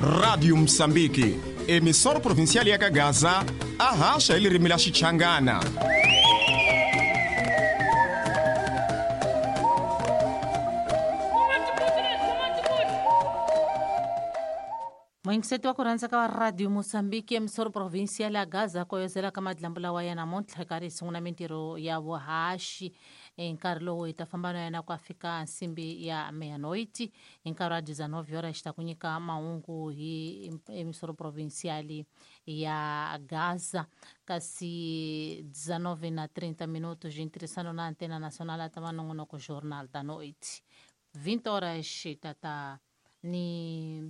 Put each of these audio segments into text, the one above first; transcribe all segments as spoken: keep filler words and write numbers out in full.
Radio Msambiki, emissora provincial ya Gaza, a haxa hi ririmi la Xichangana. Muyingiseti wa ku rhandza ka Radio Mozambique, emissora provincial ya Gaza, koyozela ka madlambu lawa ya namuntlha karhi hi sungula mintirho ya vuhaxi. Hi nkarhi lowu hi ta famba na yena ku a fika nsimbi ya meia-noite, hi nkarhi wa dezenove horas xi ta ku nyika mahungu hi emissora provincial ya Gaza. Kasi dezenove na trinta minutos de ntirhisano na Antena Nacional a ta va nongonoko Jornal da Noite. vinte horas ta ta ni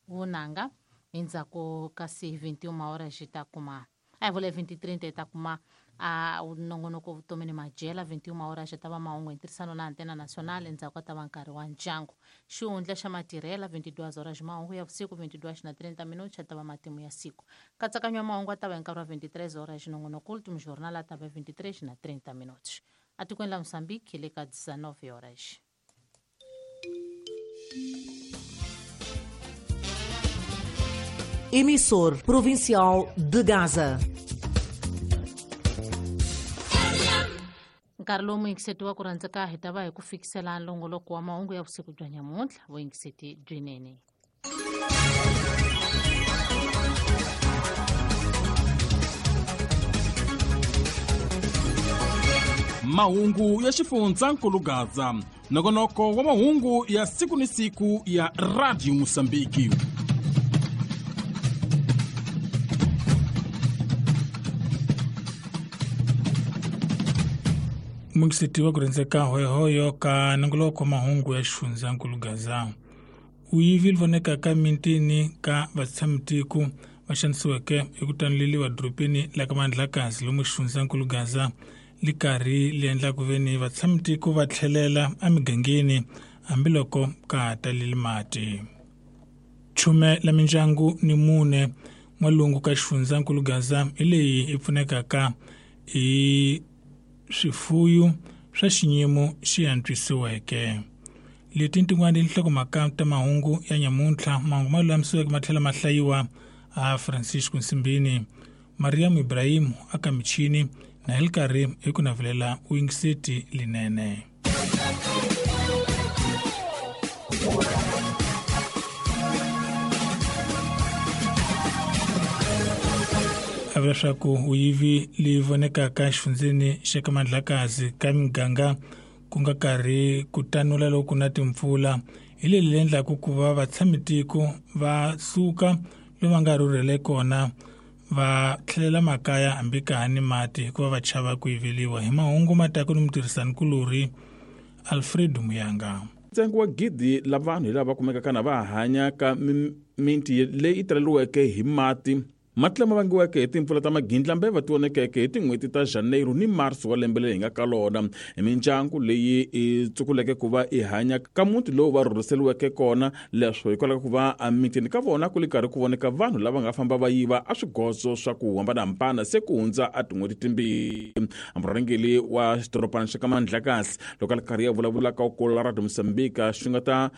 vunanga endzhaku kasi vinte e uma horas hi ta kuma a hi vule vinte e trinta hi ta kuma a nongonoko vutomi ni madyela. Vinte e uma horas hi ta va mahungu hi ntirhisano na Antena Nacional, endzhaku ka ta va nkarhi wa ndyangu. Xihundla xa matirhela vinte e duas horas mahungu ya vusiku, vinte e duas na trinta minutos a ta va matimu ya siku. Nkatsakanyo wa mahungu a ta va hi nkarhi wa vinte e três horas, nongonoko Último Jornal a ta va vinte e três na trinta minutos. Atikweni la Mozambique hi le ka dezenove horas. Emissor Provincial de Gaza. Nkarhi lowu muyingiseti wa ku rhandzeka hi ta va hi ku fikisela nlongoloko wa mahungu ya vusiku bya nyamuntlha. Vuyingiseti byinene. Mahungu ya xifundzankulu Gaza, nongonoko wa mahungu ya siku ni siku ya Radio Mozambique. Muyingiseti wa ku rhandzeka hoyohoyo ka nongoloko wa mahungu ya xifundzankulu Gaza. Uyivi voneka ka mintini ka vatshamitiko va xanisiweke hi ku tanuleliwa dorobeni la ka Mandlakazi lomu xifundzankulu Gaza li karhi li endla ku veni vatshamitiko va tlhelela emigangeni hambiloko ka ha taleli mati. Chume la mindyangu ni mune n'walungu ka xifundzankulu Gaza hi leyi yi pfunekaka hi swifuyu swa xinyimo xi antswisiweke. Leti tin'wana tinhlokomhaka ta mahungu ya nyamuntlha, mahungu ma lulamisiweke ma tlhela ma hlayiwa a Francisco Nsimbini, Mariam Ibrahim aka michini na hi karhi hi ku navelela uyingiseti linene. A vula leswaku uyivi leyi vonekaka exifundzeni xa ka Mandlakazi ka miganga ku nga karhi ku tanula loko na timpfula hi leyi endlaku ku va vatshamitiko va suka lomu va nga rhurhele kona va tlhelela makaya hambi ka ha ni mati hikuva va chava ku yiveliwa. Hi mahungu ma taku ni mutirhisanikulorhi Alfredo Muyanga. Ntsengo wa gidi la vanhu hi lava kumekaka na va hanya ka miti leyi taleriweke hi mati. Mati lama vangiweke hi timpfula ta magindlambeva ti vonekeke hi tin'hweti ta Janeiro ni Marso wa lembe leri hi nga ka lona. Hi mindyangu leyi i tsukuleke ku va i hanya ka muti lowu va rhurhiseriweke kona, leswo hikwalaho ku va emitini ka vona ku li karhi ku voneka vanhu lava nga famba va yiva a swigodzo swa ku hambanahambana se ku hundza a tin'hweti timbirhi. Murhangeri wa xidorobana xa ka Mandlakazi loko a li karhi ya vulavula ka ku la Radio Mozambique xi nga ta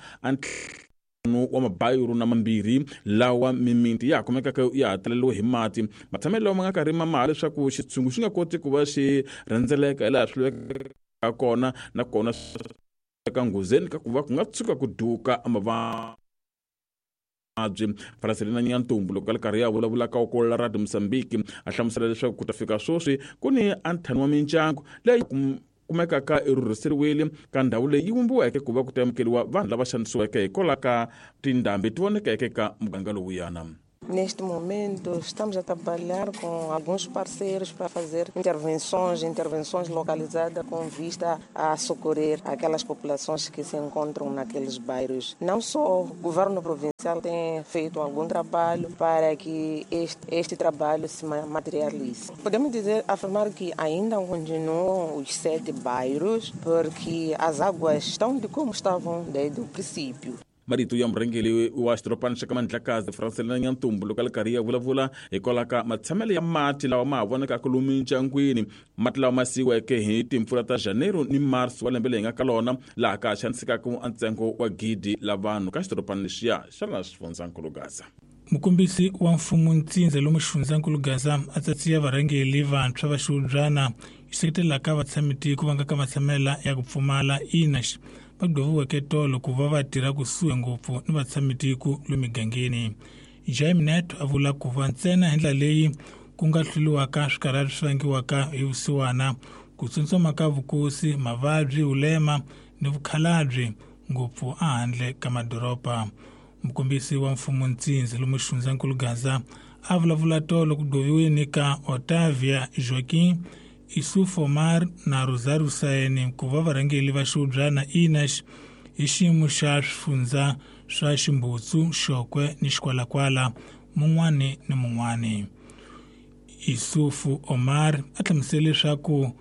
wa mabayiro na mambirhi lawa mimiti ya kumekaka ya ha taleriwe hi mati. Matshamelo lawa ma nga karhi ma maha leswaku xitshungu xi nga koti ku va xi rhendzeleka hi laha swi lavekaka kona, nakona ka nghozeni ka ku va ku nga tshuka ku duka mavabyi. Francelina Nyantumbu loko a li karhi ya vulavula ka ku la Radio Mozambique a hlamusela leswaku ku ta fika sweswi ku ni a ntlhanu wa mindyangu leyi kumekaka i rhurhiseriwile ka ndhawu leyi yi vumbiweke ku va ku ta amukeriwa vanhu lava xanisiweke hikwalaho ka tindhambi ti vonekeke ka muganga lowuyana. Neste momento, estamos a trabalhar com alguns parceiros para fazer intervenções, intervenções localizadas com vista a socorrer aquelas populações que se encontram naqueles bairros. Não só o governo provincial tem feito algum trabalho para que este, este trabalho se materialize. Podemos dizer, afirmar que ainda continuam os sete bairros, porque as águas estão de como estavam desde o princípio. Marito ya murhangeri wa xidorobana xa ka Mandlakazi Francelina Nyantumbu loko a li karhi ya vulavula hikwalaho ka matshamelo ya mati lawa ma ha vonakaka lomu mindyangwini, mati lawa ma siyiweke hi timpfula ta Janeiro ni Marsi wa lembe leyi nga ka lona, laha ka xanisekaka ntsengo wa gidi la vanhu ka xidorobana lexiya xa laha xifundzankulu Gaza. Mukombisi wa mfumo ntsindza lomu xifundzankulu Gaza a tsatsiya varhangeri vantshwa va xihubyana xi seketelaka vatshamitiko va nga ka matshamela ya ku pfumala I N A S va gqoviweke tolo ku va va tirha kusuhi ngopfu ni vatshamitiko lomu migangeni. Jaime Neto a vula ku va ntsena hi ndlela leyi ku nga hluriwaka swikarhati swi vangiwaka hi vusiwana, ku tsotsoma ka vukosi, mavabyi, vulema ni vukhalabye ngopfu ehandle ka madoroba. Mukombisi wa mfumo ntsindza lomu xifundzankulu Gaza a vulavula tolo ku gqoviweni ka Otavia Joaquim, Isuf Omar na Rosario Saene ku va varhangeri va xihubyana I N A S hi xiyimo xa swifundza swa Ximbutsu, Xokwe ni Xikwalakwala mun'wani ni mun'wani. Isufu Omar a hlamusele leswaku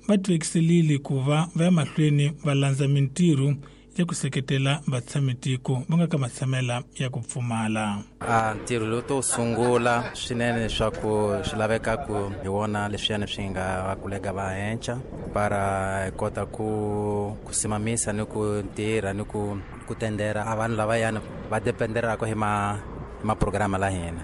va tivekiselile ku va va ya mahlweni va landza mintirho ya ku seketela vatshamitiko va nga ka matshamela ya ku pfumala. A ntirho lowu to sungula swinene leswaku swi laveka ku hi wona leswiyani swi nga va kulega va henhla para hi kota ku ku simamisa ni ku tirha ni ku ku tendera a vanhu lavayani va dependeraka hi ma hi maprograma la hina.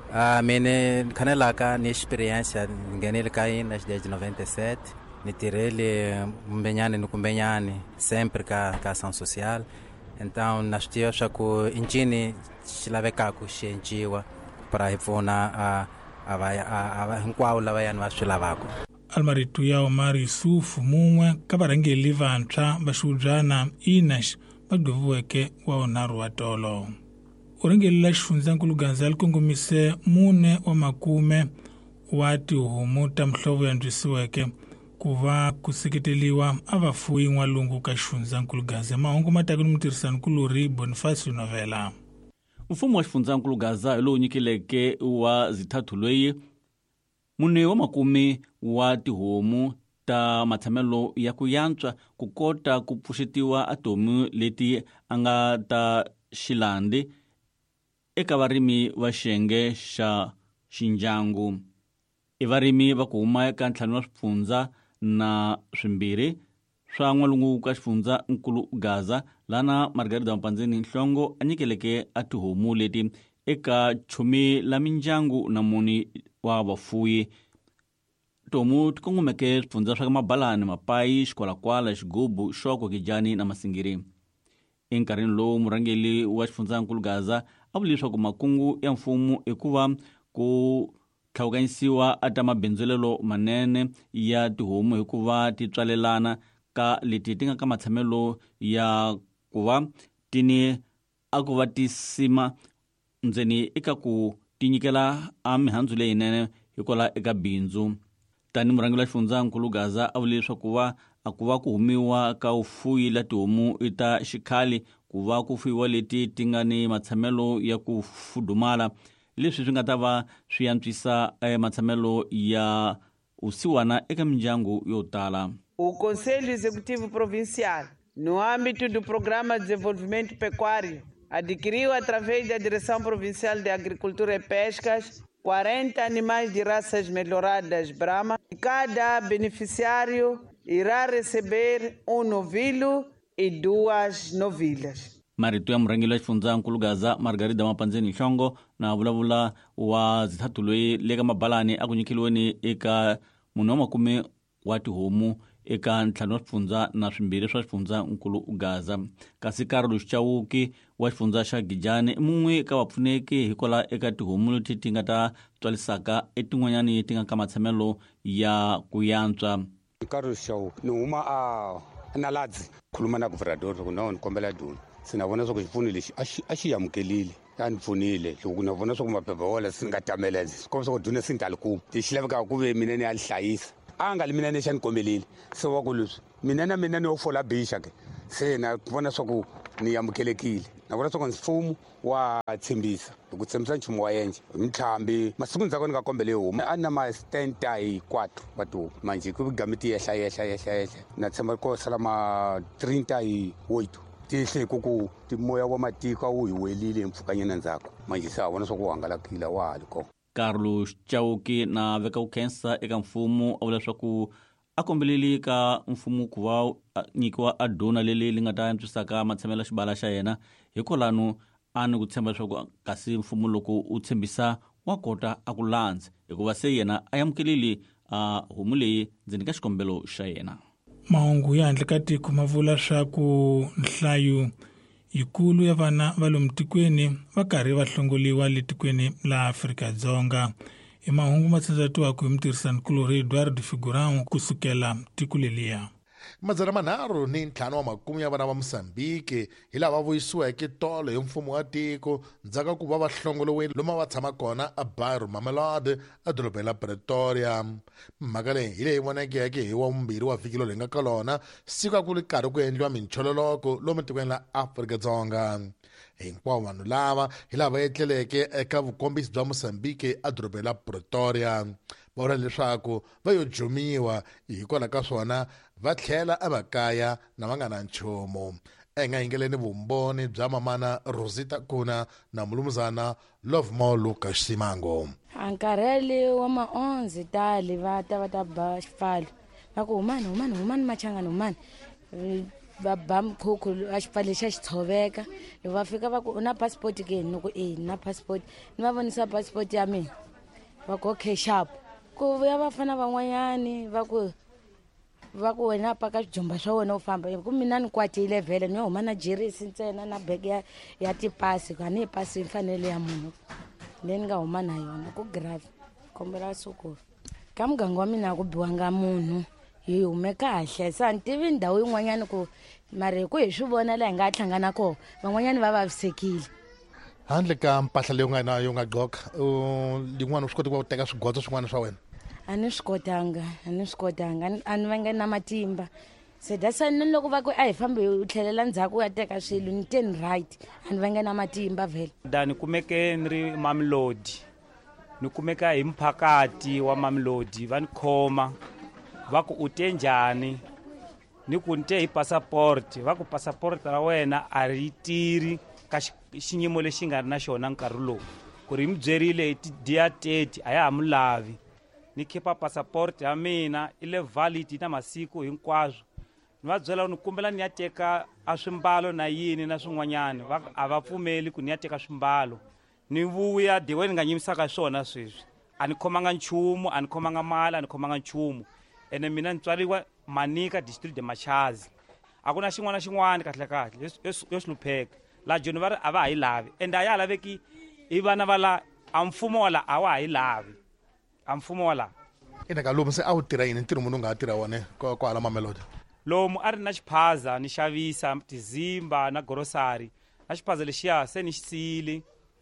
Uh, mine khanelaka ni experience ni nghenile ka yini desde noventa e sete, ni tirhele kumbenyani ni kumbenyani sempre ka ka ação social, então na swi tiva swa ku i ncini xi lavekaka xi enciwa para hi pfuna a a va a hinkwavo lavayani va swi lavaka. Almarito ya Omar Yusuf, mun'we ka varhangeri vantshwa va xihubyana I N A S va gqoviweke wa vunharhu wa tolo. Urhangeri la xifundzankulu Gaza li kongomise mune wa makume wa tihomu ta mihlovo ya antswisiweke ku va ku seketeliwa a vafuwi n'walungu ka xifundzankulu Gaza. Mahungu ma taka ni mutirhisanikulorhi Bonifacio Novela. Mfumo wa xifundzankulu Gaza hi lowu nyikileke wa zithathu loyi mune wa makume wa tihomu ta matshamelo ya ku yantswa ku kota ku pfuxetiwa atomu leti a nga ta xilandi eka varimi va xiyenge xa xindyangu. I varimi va ku huma eka ntlhanu wa swifundza na swimbirhi swa n'walungu ka xifundza nkulu Gaza, lana Margarida Mpandzeni Nhlongo a nyikeleke a tihomu leti eka chumi la mindyangu na muni wa vafuwi. Tihomu ti kongomeke swifundza swa ka Mabalani, Mapayi, Xikwalakwala, Xigubu, Xoko, Gijani na Masingiri. Enkarhini lowu murhangeri wa xifundzankulu Gaza a vule leswaku makungu ya mfumo i ku va ku tlhawukanyisiwa a ta mabindzulelo manene ya tihomu hikuva ti tswalelana ka leti ti nga ka matshamelo ya ku va ti ni a ku va ti sima ndzeni eka ku ti nyikela a mihandzu leyinene hikwalaho eka bindzu. Tani murhangeri wa xifundzankulu Gaza a vule leswaku va a ku va ku humiwa ka vufuwi la tihomu i ta xikhale ku va ku fuyiwa leti ti nga ni matshamelo ya ku fudumala, leswi swi nga ta va swi antswisa matshamelo ya vusiwana eka mindyangu yo tala. O Conselho Executivo Provincial, no âmbito do Programa de Desenvolvimento Pecuário, adquiriu através da Direção Provincial de Agricultura e Pescas quarenta animais de raças melhoradas Brahma. Cada beneficiário irá receber um novilho e duas novilhas. Marito ya murhangeri wa xifundzankulu Gaza Margarida Mapandzeni Nhlongo na vulavula wa zithathu loyi le ka Mabalani a ku nyikeliweni eka munhu wa makume wa tihomu eka ntlhanu wa swifundza na swimbirhi swa xifundzankulu Gaza. Kasi Carlos Chauke wa xifundza xa Gijani i mun'we ka vapfuneki hikwalaho eka tihomu leti ti nga ta tswalisaka etin'wanyani ti nga ka matshamelo ya ku yantswa. Carlos Chauke, ni huma a Naladzi, khuluma na governador ku no ni kombela duna se na vona swa ku xipfuno lexi a xi a xi amukelile, a ni pfunile loko na vona swa ku maphepha wala se ni nga tamela swi komba swa ku duna se ni ta li kuma. Lexi lavekaka ku ve mina ni ya li hlayisa a nga li mina ni xa ni kombelile se wa ku leswi mina na mina ni yo fola bixa ke se na vona swa ku ni amukelekile, na vona swa ku mfumo wa tshembisa loko tshembisa nchumu wa endla mintlhambi masiku ndzhaku ni nga kombele homu a na ma setenta hi quatro wa tihomu manje ku game ti yehla yehla yehla yehla na tshemba ko sala ma trinta hi oito. Tihle ku ku timoya wa matiko a wu hi welile mpfhukanyana ndzhaku manje se a vona swa ku hangalakile wa ha li kona. Carlos Chauke na veka ku khensa eka mfumo a vula leswaku a kombeleli ka mfumo ku va nyikiwa a dona leli li nga ta antswisaka matshamelo ya xibala xa yena hikwalano a ni ku tshemba leswaku kasi mfumo loko u tshembisa wa kota a ku landza hikuva se yena a amukelile a homu leyi ndzeni ka xikombelo xa yena. Mahungu ya handle ka tiko ma vula swa ku nhlayo yikulu ya vana va lomu tikweni va karhi va hlongoliwa le tikweni la Afrika-Dzonga. I mahungu ma tsandzatiwaka hi mutirhisanikulorhi Eduardo Figurão kusukela tiko leliya. Madzana manharhu ni ntlhanu wa makume ya vana va Mozambique hi lava vuyisiweke tolo hi mfumo wa tiko ndzhaku ka ku va va hlongoliwile lomu va tshama kona a Bairro Mamelodi edorobeni la Pretoria. Mhaka leyi hi leyi vonekeke hi wa vumbirhi wa vhiki lowu hi nga ka lona siku a ku ri karhi ku endliwa minchololoko lomu tikweni la Afrika-Dzonga. Hinkwavo vanhu lava hi lava etleleke eka vukombisi bya Mozambique edorobeni la Pretoria va vula leswaku va yo jumiwa hikwalaho ka swona va tlhela emakaya na va nga na nchumu. Hi nga yingeleni vumbhoni bya mamana Rosita Kuna na mulumuzana Lovemore Lucas Simango. A nkarhi wa maonzi tali va ta va ta ba xipfalo va ku humani humani humani machangani humani va ba mkhukhu a xipfalo xa xi tshoveka. Loko va fika va ku u na passport ke ni ku e na passport ni va vonisa passport ya mina va ku okay sharp. Ku vuya vafana van'wanyani va ku va ku wena paka swijumba swa wena u famba ku mina ni kwatile vhele ni huma na jerisi ntsena na bege ya, ya tipasi a ni yi pasi mfanelo ya munhu leyi ni nga huma na yona ku grave kombela sukulu ka muganga wa mina a ku biwanga munhu hi hume kahle se a ni tivi ndhawu yin'wanyani ku mara hi ku hi swi vona laha hi nga hlangana kona van'wanyani va vavisekile. Handle ka mpahla leyi u nga na yo nga gqoka yin'wana u swi koti ku va u teka swigodzo swin'wana swa wena? A ni swi kotanga a ni swi kotanga a ni vange na matimba se that's why ni loko va ku a hi fambi u tlhelela ndzhaku u ya teka swilo ni te ni right a ni vange na matimba vhele. Da ni kumeke ni ri Mamelodi ni kumeka hi mphakati wa Mamelodi va ni khoma va ku u te njhani ni ku ni te hi passport va ku passport ra wena a ri tirhi ka xiyimo lexi nga ri na xona nkarhi lowu ku ri mi byerile hi ti-dia thirty a ya ha mu lavi. Ni khipa passport ya mina i le valid na masiku hinkwaswo ni va byela ni kombela ni ya teka a swimbalo na yini na swin'wanyani va a va pfumeli ku ni ya teka swimbalo ni vuya diwe ni nga nyimisaka swona sweswi a ni khomanga nchumu a ni khomanga mali a ni khomanga nchumu ene mina ni tswariwa Manika district de Machazi a ku na xin'wana na xin'wana kahle kahle yo hlupheka la Joni va ri a va ha yi lavi ende a ya ha laveki i vana va la a mfumo wa la a wa ha yi lavi a mfumo wa la. Ina ka lomu se a wu tirha yini ntirho munhu u nga ha tirha wona kwala Mamelodi? Lomu a ri na xiphaza ni xavisa tizimba na grocery na xiphaza lexiya se ni xi siyile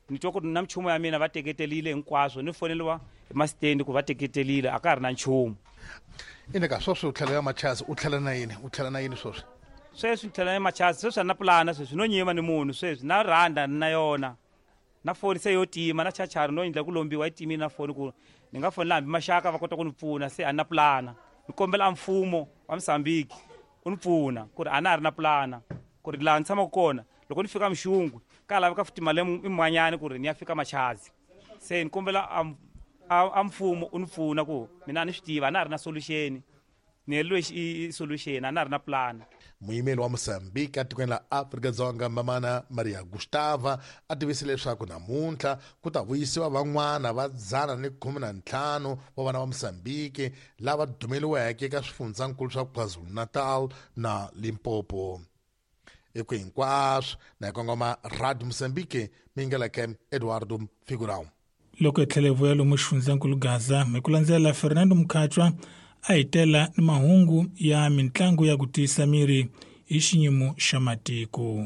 ni twa ku ri na minchumu ya mina va teketelile hinkwaswo ni foneliwa hi masitendi ku va teketelile a ka ha ri na nchumu. Ina ka sweswi u tlhela ya Machazi u tlhela na yini u tlhela na yini sweswi? Sweswi ni tlhela na Machazi sweswi a ni na pulana sweswi no nyima ni munhu sweswi na rhanda ni na yona na foni se yo tima na chachari no endla ku lombiwa yi timile na foni ku ni nga fonela hambi maxaka va kota ku ni pfuna se a ni na pulana ni kombela a mfumo wa Mozambique u ni pfuna ku ri a na ha ri na pulana ku ri laha ni tshamaka kona loko ni fika Mxungwe ka laveka futhi mali yin'wanyana ku ri ni ya fika Machazi se ni kombela a a mfumo u ni pfuna ku mina a ni swi tiva a na ha ri na solution ni heleriwe i solution a na ha ri na pulana. Muyimeli wa Mozambique etikweni la Afrika-Dzonga mamana Maria Gustava a tivise leswaku namuntlha ku ta vuyisiwa van'wana va dzana ni khume na ntlhanu wa vana va Mozambique lava dumeliweke eka swifundzankulu swa KwaZulu-Natal na Limpopo. Eku hinkwaswo na hi kongoma Radio Mozambique mingeleke Eduardo Figurão. Loko hi tlhela hi vuya lomu xifundzankulu Gaza hi ku landzela Fernando Mkhatshwa a hi tela ni mahungu ya mitlangu ya ku tiyisa miri hi xiyimo xa matiko.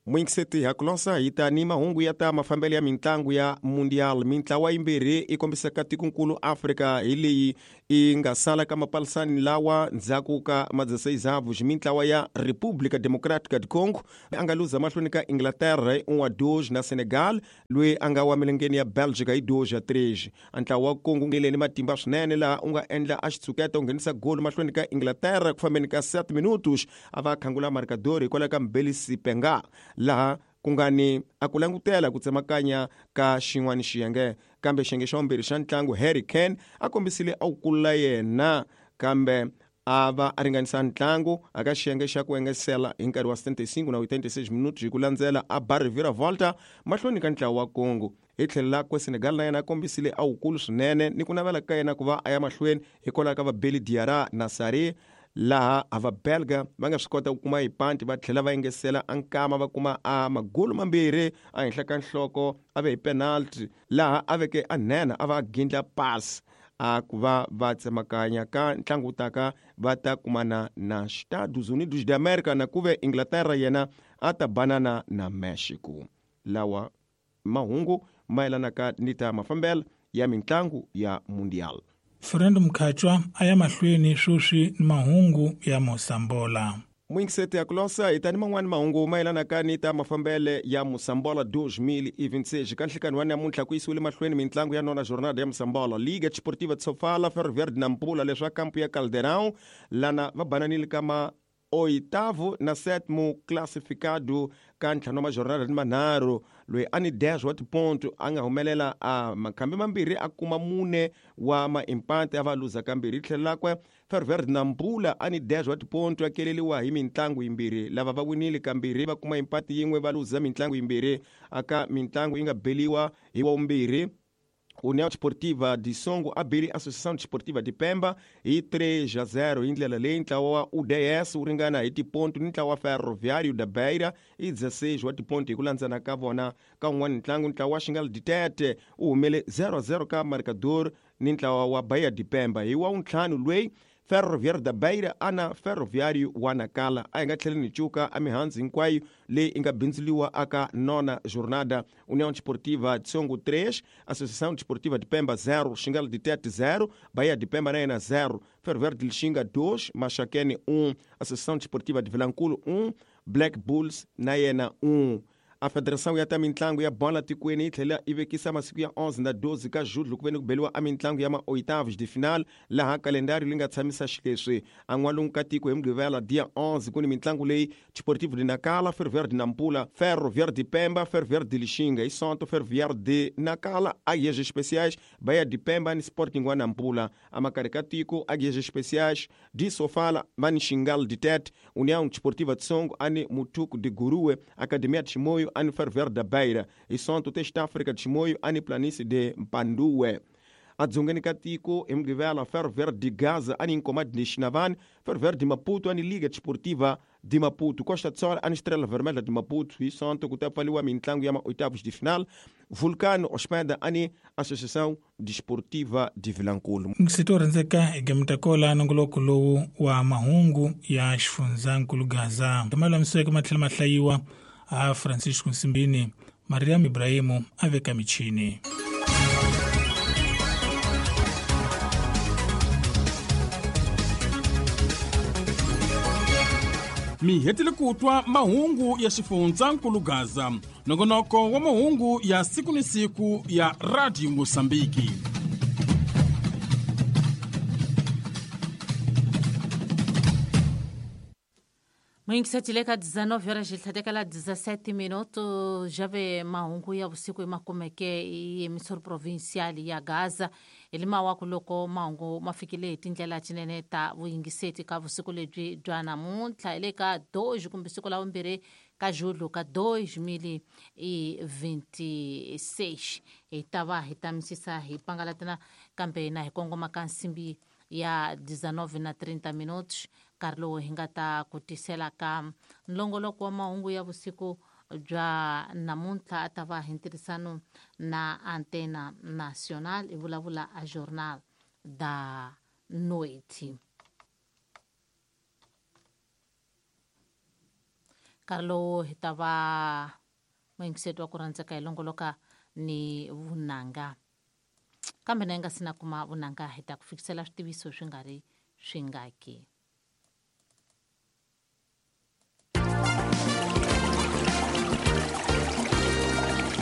Mwingiseti hakulosa hi ta ni mahungu ya ta mafambelo ya mintlangu ya Mundial. Mintlawa yimbirhi i kombisaka tikonkulu Afrika hi leyi i nga sala ka mapalisani lawa ndzhaku ka madzeseizavu. Mintlawa ya República Democrática do Congo a nga luza mahlweni ka Inglaterra hi un a dois na Senegal loyi a nga wa milengeni ya Belgica hi dois a três. Ntlawa wa Congo nge ni matimba swinene laha u nga endla a xitshuketa u nghenisa goli mahlweni ka Inglaterra ku fambeni ka sete minutos a va khangula marcador hikwalaho ka Mbelisi Penga laha ku nga ni a ku langutela ku tsemakanya ka xin'wana xiyenge, kambe xiyenge xa vumbirhi xa ntlangu Harry Kane a kombisile a wu kulula yena kambe a va a ringanisa ntlangu aka xiyenge xa ku engesela hi nkarhi wa setenta e cinco na oitenta e seis minutos hi ku landzela a ba reviravolta mahlweni ka ntlawa wa Congo. Hi tlhelo lakwe Senegal na yena a kombisile a wukulu swinene ni ku navela ka yena ku va a ya mahlweni hikwalaho ka va Beli Diarra na Sarri laha a va belga va nga swi kota ku kuma hipanti va tlhela va engesela a nkama va kuma a magolo mambirhi a henhla ka nhloko a ve hi penalty laha a veke a nhenha a va a gindla pass a ku va va tsemakanya ka ntlangu wu taka va ta kumana na Estados Unidos de America na ku ve Inglaterra yena a ta banana na Mexico. Lawa mahungu mayelanaka ni ta mafambelo ya mintlangu ya Mundial. Fernando Mkhatshwa a ya mahlweni sweswi ni mahungu ya Mosambola. Mwingiseti ya kulosa hi tani man'wani mahungu mayelanaka ni ta mafambele ya Mosambola dois mil e vinte e seis. Ka nhlikani wa namuntlha ku yisiwile mahlweni mintlangu ya nona jornada ya Mosambola. Liga Desportiva de Sofala, Ferro Verde na Nampula leswa kampu ya Caldeirão lana va bananile ka ma oitavo na sétimo classificado ka ntlhanu wa majornada ni manharhu loyi a ni dez wa tiponto a nga humelela a makhambi mambirhi a kuma mune wa maimpante a va luza kambirhi. Hi tlhelo lakwe Ferro Verde Nampula a ni dez wa tiponto a keleliwa hi mintlangu yimbirhi lava va winile kambirhi va kuma impati yin'we va luza mintlangu yimbirhi aka mintlangu yi nga beliwa hi wa vumbirhi. União Desportiva de Songo a beli Associação Desportiva de Pemba hi três a zero hi ndlela leyi ntlawa wa U D S wu ringana hi tiponto ni ntlawa wa Ferroviário da Beira hi dezesseis wa tiponto hi ku landzana ka vona ka wun'wana ntlangu. Ntlawa wa Xingal Ditete wu humele zero a zero ka Marcador ni ntlawa wa Bahia de Pemba. Hi wa wuntlhanu loyi Ferroviário da Beira ana Ferroviário wa Nacala a hi nga tlheli ni cuka a mihandzu hinkwayo leyi i nga bindzuriwa aka nona jornada. União Desportiva de Songo três, Associação Desportiva de Pemba zero, Xingal de Tete zero, Bahia de Pemba na yena zero, Ferroviário de Lixinga dois, Maxaquene um, Associação Desportiva de Vilanculo um, Black Bulls na yena um. A federação ya ta mintlangu ya bola tikweni yi tlhela yi vekisa masiku ya onze na doze ka julho ku ve ni ku beliwa a mintlangu ya ma-oitavos de final laha kalendari leyi nga tshamisa xileswi. A n'walungu ka tiko hi Mugqivela dia onze ku ni mintlangu leyi Desportivo de Nacala, Ferroviário de Nampula, Ferroviário de Pemba, Ferroviário de Lixinga, Isonto, Ferroviário de Nacala, Águias Especiais, Bahia de Pemba ni Sporting wa Nampula. A Macarca tiko, Águias Especiais de Sofala, Mani Xingal de Tete, União Desportiva de Songo, ani Mutuco de Gurue, Academia de Chimoio, ani Ferroviário da Beira, Isonto Teste África de Chimoio, ani Planície de Mpandue. A dzongeni ka tiko hi Mugqivela Ferroviário de Gaza ani Nkomati de Xinavane, Ferroviário de Maputo ani Liga Desportiva de Maputo, Costa do Sol ani Estrela Vermelha de Maputo. Isonto ku ta pfaliwa mintlangu ya ma-oitavos de final, Vulcano Ospeda ani Associação Desportiva de Vilanculo. Ngisito rhandzeka hi gamitakola nongoloko lowu wa mahungu ya xifundzankulu Gaza. Malulamiseke ma tlhela ma hlayiwa a Francisco Nsimbini, Mariam Ibrahimu a veka michini. Mi hetile ku twa mahungu ya xifundzankulu Gaza, nongonoko wa mahungu ya siku ni siku ya Radio Mosambiki. Mwingiseti ka dezenove horas tlhatekela dezessete minuto jave mahungu ya vusiku makumeke i emissora provincial ya Gaza elimawaku loko mahungu ma fikile hi tindlela tinene ta vuyingiseti ka vusiku lebyi bya namuntlha hi le ka dois kumbe siku la vumbirhi ka julho ka dois mil e vinte e seis. Hi ta va hi tamisisa hi pangalatana kambe na hi kongoma ka nsimbi ya dezenove na trinta minutos nkarhi lowu hi nga ta ku tisela ka nlongoloko wa mahungu ya vusiku bya namuntlha a ta va hi ntirhisano na Antena Nacional i vulavula a Jornal da Noite. Nkarhi lowu hi ta va muyingiseti wa ku rhandzeka hi longoloka ni vunanga. Kambe na yi nga si na kuma vunanga hi ta ku fikisela switiviso swi nga ri swingaki.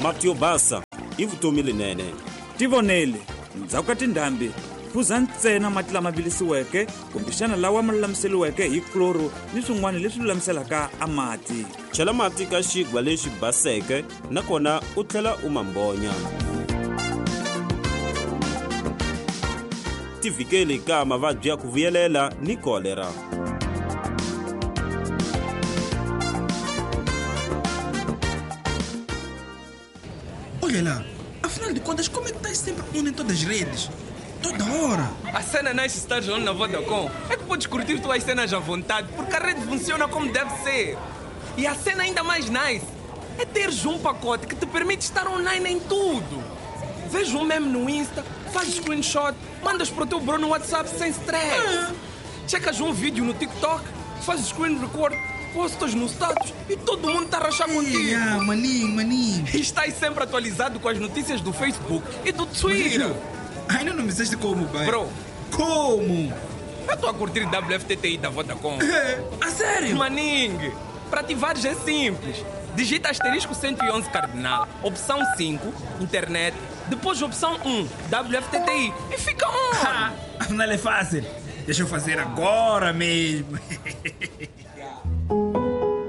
Mati yo basa i vutomi lenene. Tivonele, ndzhaku ka tindhambi phuza ntsena mati lama vilisiweke kumbexana lawa ma lulamiseriweke hi kloro ni swin'wana leswi lulamiselaka a mati. Chela mati ka xigwa lexi baseke nakona u tlhela u ma mbonya. Tivikeli ka mavabyi ya ku vuyelela ni kolera. Olha lá, afinal de contas, como é que estás sempre on em todas as redes? Toda hora! A cena nice estar on na Vodacom é que podes curtir tuas cenas à vontade, porque a rede funciona como deve ser. E a cena ainda mais nice é teres um pacote que te permite estar online em tudo. Vês um meme no Insta, fazes screenshot, mandas para o teu bro no WhatsApp sem stress. Ah. Checas um vídeo no TikTok, fazes screen record, postas no status e todo mundo está a rachar contigo. Ah, maninho, maninho. E estás sempre atualizado com as notícias do Facebook e do Twitter. Ainda não me disseste como, pai. Bro. Como? Eu estou a curtir W F T T I da Vodacom. A sério? Maningue, para ativares é simples. Digita asterisco cento e onze cardinal, opção cinco, internet, depois opção um, W F T T I e fica on. Afinal é fácil. Deixa eu fazer agora mesmo.